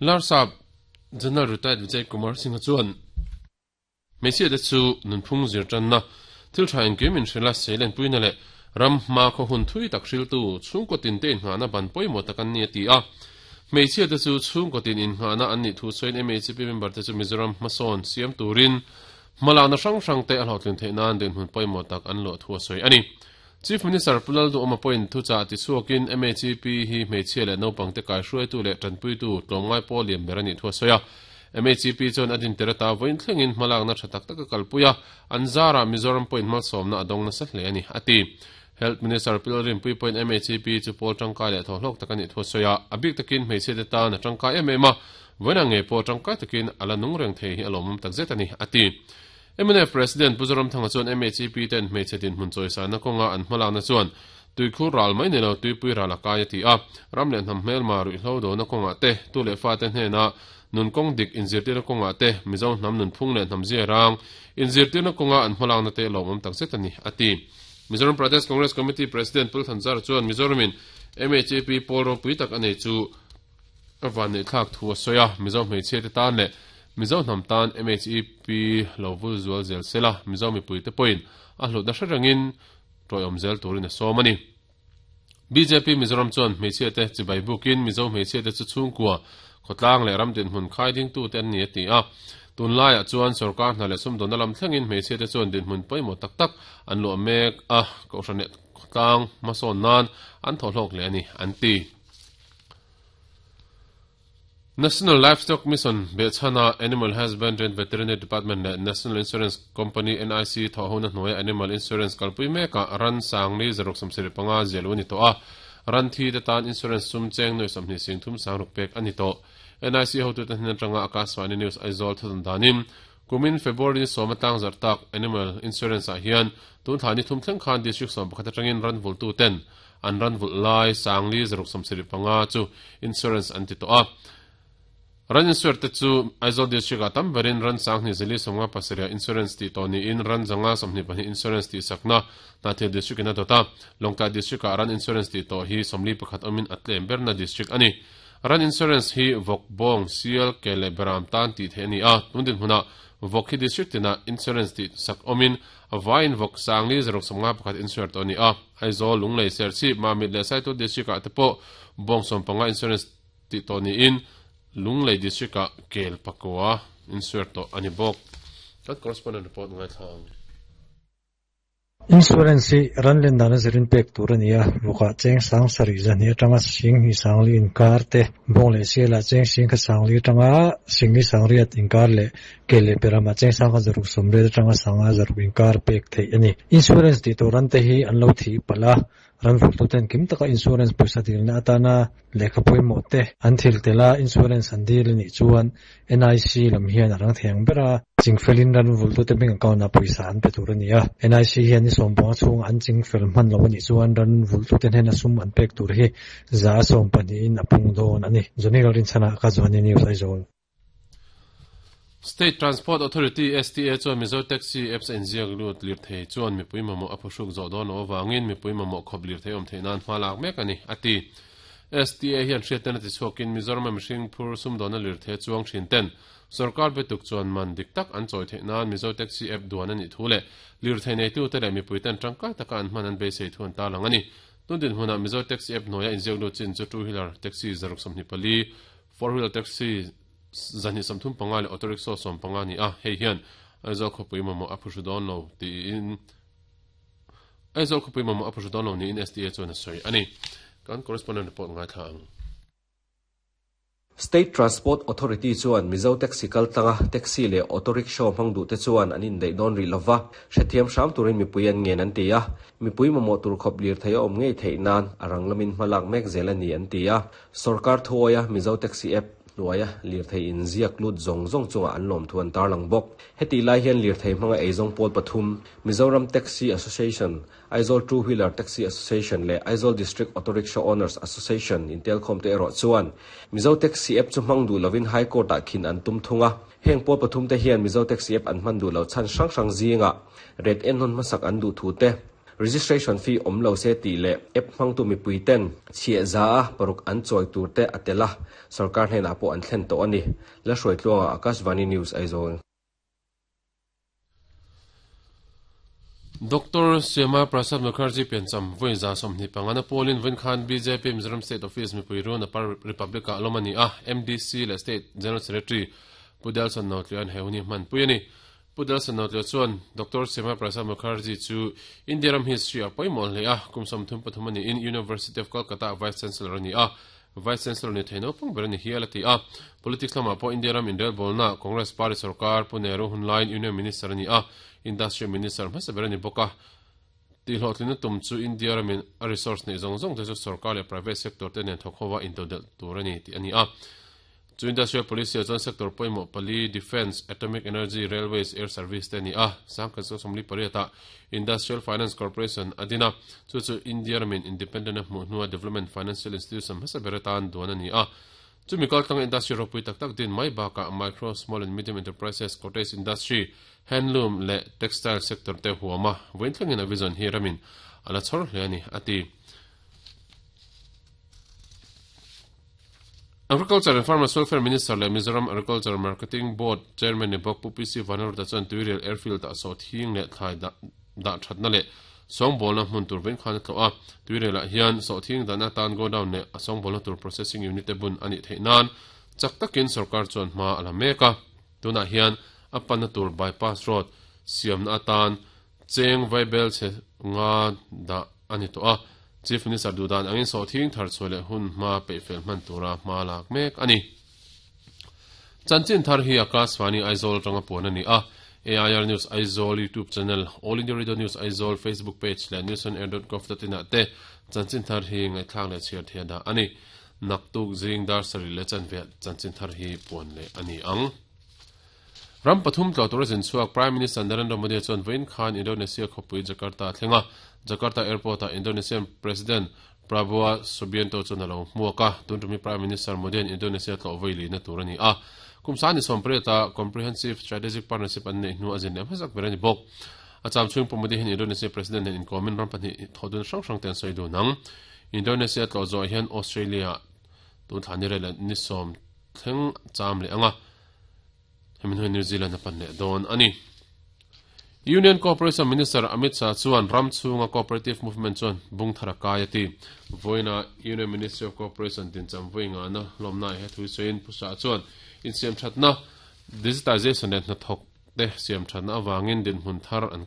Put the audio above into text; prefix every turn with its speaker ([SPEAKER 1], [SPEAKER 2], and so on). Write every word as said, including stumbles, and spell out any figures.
[SPEAKER 1] Larsap General Retired Vijay Kumar Singh chuan hmeichhia te chu nunphung zir tanna thil tha engkim in hrila seilen puina leh ram hma khaw hun thui tak hriltu chhungkaw tin te inngahna ban pawimawh tak an ni a ti a. Hmeichhia te chu chhungkaw tin inngahna an nih thu sawiin M H P member te chu Mizoram hmasawn siam turin hmalakna hrang hrang te a hlawhtlin theih nan dinhmun pawimawh tak an luah thu a sawi a ni. Chief Minister Pu Lalduhawma pawhin thuchah tichhuakin M H P hi hmeichhia leh naupang te kaihruaitu leh tanpuitu tlawmngai pawh lian ber a nih thu a sawi a. M H P chuan a din tir ata vawiin thlengin hmalakna tha tak tak a kalpui a, an zarah Mizoram pawhin hmalsawmna a dawng nasa hle a ni, a ti. Health Minister Pu Lalrinpuii pawhin M H P chu pawl tangkai leh thawhlawk tak a nih thu a sawi a, a bik takin hmeichhia te tan a tangkai em em a, vawiin ngei pawh tangkai takin a la nung reng thei hi a lawmawm tak zet a ni, a ti. M N F President Pu Zoramthanga chuan M H P ten hmeichhe dinhmun chawisana kawnga an hmalakna chuan tuikhur ral mai ni lo tuipui ral a kai a ti a, ram leh hnam hmelma ruihhlo dona kawngah te tu leh fa te hnena nunkawng dik inzirtirna kawngah te Mizo hnam nunphung leh hnam zia rang inzirtirna kawnga an hmalakna te lawmawm tak zet a ni, a ti. Mizoram Pradesh Congress Committee President Pu Thanzara chuan Mizoramin M H P pawl ropui tak a nei chu a van neih thlak thu a sawi a, Mizo hmeichhia te tan leh Mizo hnam tan M H P lo vul zual zel sela Mizo mipui te pawhin a hlutna hre rengin tawiawm zel turin a sawm a ni. B J P Mizoram chuan hmeichhia te chibai bukin Mizo hmeichhia te chu chhungkua khawtlang leh ram dinhmun khai dingtu te an ni a ti a. Tunlaiah chuan sorkar hna leh sumdawnna lam thlengin hmeichhia te chuan dinhmun pawimawh tak tak an luah mek a, kohhran leh khawtlang hmasawn nan an thawhlawk leh a ni, an ti. National Livestock Mission behchhana Animal Husbandry and Veterinary Department leh National Insurance Company N I C thawhhona hnuaia Animal Insurance kalpui mekah ran sangli zaruk sawmsarih panga zial u a ni tawh a, ran thi te tan insurance sum cheng nuai sawmhnih sing thum sangruk pek a ni tawh. N I C hotu te hnen atanga Akashvani News Aizawl thudun danin kumin February ni sawm atang zarh tak Animal Insurance ah hian tun thla ni thum thleng khan district sawm pakhat atangin ran vultu ten an ran vulh lai sangli zaruk sawmsarih panga chu insurance an ti tawh a. Ran insure te chu Aizawl district ah tam berin ran sanghnih zali sawmnga pasarih insurance tih tawh niin ran zanga sawmhnih pahnih insurance tih sakna Hnathil district in a dawt a, Lawngtlai district ah ran insurance tih tawh hi sawmli pakhat awmin a tlem berna district a ni. Ran insurance hi vawk, bawng, sial, ke leh beram tan tih theih a ni a, tun dinhmunah vawk hi district tinah insurance tih sak awmin a vaiin vawk sangli zaruk sawmnga pakhat insure tawh a ni a. Aizawl, Lunglei, Serchhip, Mamit leh Saitu district ah te pawh bawng sawm panga insurance tih tawh niin Lunglei district ah kel pakua insure tawh a ni bawk. Kan correspondent report ngaithlang.
[SPEAKER 2] Insurance hi ran len dana zirin pek tur a ni a, vawkah cheng sang sarih zahnih atanga sing hnih sangli inkar te, bawng leh sialah cheng sing kha sangli atanga singli sangriat inkar leh ke leh peramah cheng sang kha zaruk sawmriat atanga sanga zaruk inkar pek theih a ni. Insurance tih tur ran te hi an lo thi palh a, ran vultu ten kim taka insurance pawisa dilna atana lehkha pawimawh te an thil tela insurance an dil a nih chuan N I C lam hian a rang thei ang ber a, chingfelin ran vultu te bank account ah pawisa an pe tur a ni a. N I C hian ni sawm panga chhunga an chingfel hman lo a nih chuan ran vultu te hnena sum an pek tur hi za sawm pahnihin a pung dawn a ni. Johnny Lalrinchhana ka Johnny News Aizawl.
[SPEAKER 1] State Transport Authority S T A chuan Mizo Taxi apps a inziak lut lir thei chuan mipui mamawh a phuhruk zawh dawn loh avangin mipui mamawh khawp lir thei awm theih nan hma lak mek a ni, a ti. S T A hian hriatna tichhuakin Mizoram a mihring phur sumdawnna lir thei chuang thin ten sarkar betuk chuan man dik tak an chawi theih nan Mizo Taxi app duan a nih thu leh lir thei neitu te leh mipui ten tangkai taka an hman an beisei thu an tarlang a ni. Tun dinhmunah Mizo Taxi app hnuaia inziak lut chin chu two wheeler taxi zaruk sawmhnih pali, four wheeler taxi zahnih sawmthum panga leh auto rickshaw sawm panga ni a, hei hian Aizawl khawpui mamawh a phuhru dawn lo tiin Aizawl khawpui mamawh a phuhru dawn lo niin S T A chuan a sawi a ni. Kan correspondent report ngaithla ang.
[SPEAKER 3] State Transport Authority chuan Mizo Taxi kaltlanga taxi leh auto rickshaw hmang duh te chuan an indaih dawn rih lova, hrethiam hram turin mipui an ngen an ti a, mipui mamawh tur khawp lir thei a awm ngei theih nan a rang lamin hmalak mek zel a ni an ti a. Sarkar thuawia Mizo Taxi app hnuaia lir thei inziak lut zawng zawng chunga an lawm thu an tarlang bawk. Heti lai hian lir thei hmanga eizawng pawl pathum Mizoram Taxi Association, Aizawl Two Wheeler Taxi Association leh Aizawl District Auto Rickshaw Owners Association intelkhawm te erawh chuan Mizo Taxi app chu hmang duh lovin High Court ah khin an tum thung a. Heng pawl pathum te hian Mizo Taxi app an hman duh lo chhan hrang hrang zingah ret en hawn hmasak an duh thu te, Registration fee awm lo se tih leh app hmangtu mipui ten chhiah za a paruk an chawi tur te a tel a, sorkar hnenah pawh an thlen tawh a ni. Lalhruaitluanga, Akashvani News, Aizawl.
[SPEAKER 1] Doctor Syama Prasad Mukherjee piancham vawi za sawmhnih pangana pawlin vawiin khan B J P Mizoram State Office mipui run Upper Republic ah lawm a ni a, M D C leh State General Secretary Pu Delson Notlian he hun hi hmanpui a ni. Pu Delson Notlian chuan Doctor Syama Prasad Mukherjee chu India ram history ah pawimawh hle a, kum sawmthum pathum a niin University of Kolkata ah Vice Chancellor a ni a, Vice Chancellor ni thei naupang ber a ni hial a ti a. Politics lamah pawh India ram inrelbawlna Congress Party sarkar Pu Nehru hun laiin Union Minister a ni a, Industry Minister hmasa ber a ni bawk a. Tihhlawhtlinna tum chu India ramin a resource neih zawng zawng te chu sarkar leh private sector te nen thawk hova intodelh tur a ni tih a ni a. Chu industrial policy ah chuan sector pawimawh pali, Defence, Atomic Energy, Railways, Air Service te a ni a. Sangkhat sawmli pariat ah Industrial Finance Corporation a din a, chu chu India ramin independent a hmuh hnua development financial institution hmasa ber atan duan a ni a. Chumi kaltlanga industry ropui tak tak din mai bakah micro, small and medium enterprises, cottage industry, handloom leh textile sector te huam a, vawiin thlengin a vision hi ramin a la chhawr hle a ni, a ti. Agriculture and Farmers Welfare Minister leh Mizoram Agriculture Marketing Board Chairman ni bawk Pu P C Vanlalruta chuan Tuirial Airfield ah sawhthing leh thlai dah dah thatna leh sawngbawlna hmun tur vawiin khan a tlawh a. Tuirial ah hian sawhthing dahna atan godown leh a sawngbawlna tur processing unit te bun a nih theih nan chak takin sorkar chuan hma a la mek a. Tunah hian a panna tur bypass road siamna atan cheng vaibel chhe nga dah a ni tawh a. Chief Minister duhdan angin sawhthing thar chhuah leh hun hma peihfel hman tura hma lak mek a ni. Chanchin thar hi Akashvani Aizawl atanga puan a ni a. A I R News Aizawl YouTube channel, All India Radio News Aizawl Facebook page leh newsonair dot gov dot in ah te chanchin thar hi ngaihthlak leh chhiar thei a dah a ni. Naktuk zing dar sarih leh chanve chanchin thar hi puan leh a ni ang. Ram pathum tlawh tura zin chhuak Prime Minister Narendra Modi chuan vawiin khan Indonesia khawpui Jakarta a thleng a. Jakarta Airport-ah Indonesian President Prabowo Subianto chuan a lo hmuak a. Tun tumi Prime Minister Modi-a'n Indonesia tlawh vawi lihna tur a ni a. Kum sani sawmpriata Comprehensive Strategic Partnership an neih hnu a zin leh hmasak ber a ni bawk. A cham chhung pawh Modi hian Indonesia President nen inkawmin ram pahnih thawhdun hrang hrang te an sawi dun ang. Indonesia tlawh zawh hian Australia tun thla ni rel ni sawm thleng cham leh ang a. Hemi hnuai New Zealand a pan leh dawn a ni. Union Cooperation Minister Amit Shah chuan ram chhunga cooperative movement chuan bung thar a kai a ti. Vawiina Union Ministry of Cooperation dincham vawi ngana hlawmna he thu sawiin Pu Shah chuan insiam thatna, digitization leh hnathawk te siam thatna avangin dinhmun thar an